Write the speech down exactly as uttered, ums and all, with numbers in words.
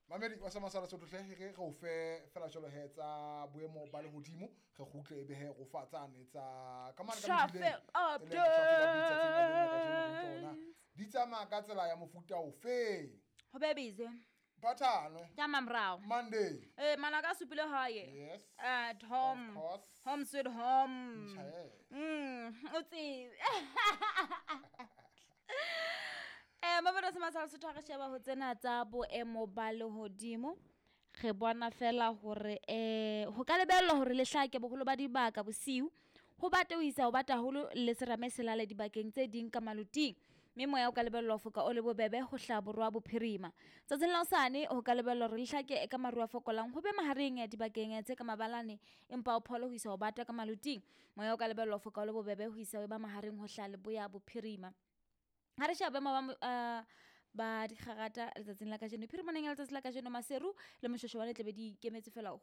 Mamedi wa Sama Sala Sotho hle re re o fe fela jwalo he tsa boemo ba lehodimo re kgutle ebe he ro fa tsane tsa ka mane ka Traffic mebileng, e leng traffic updates tsatsing la lena kajeno re utlwa hore na di tsamaya ka tsela ya mofuta ofe. Ho be busy. Phathano. Ka mamorao. Monday. Eh manaka a supile hae. Yes. At home. Of course. Home sweet home. Tjhe. Mm, o tsebe. Eh mabona se masala Sotho ha re sheba ho tsena tsa boemo ba lehodimo. Re bona fela hore eh ho ka lebellwa hore le hlake boholo ba dibaka bosiu. Ho bate ho isa ho bata haholo le serame se lale dibakeng tse ding ka maloting. Mme moya o ka lebellwa ho foka o le bobebe ho hlaha borwa bophirima. Tsatsing la hosane ho ka lebellwa hore le hlake ka maru a fokolang ho be mahareng dibakeng tse ka mabalane empa o phole ho isa ho bata ka maloting. Moya o ka lebellwa ho foka o le bobebe ho isa ho ba mahareng ho hlaha leboya bophirima. Ha re sheba boemo ba mo- eh, ba dikgarata letsatsing la kajeno phirimaneng ya letsatsi la kajeno Maseru le Moshoeshoe tle be di ikemetse fela ho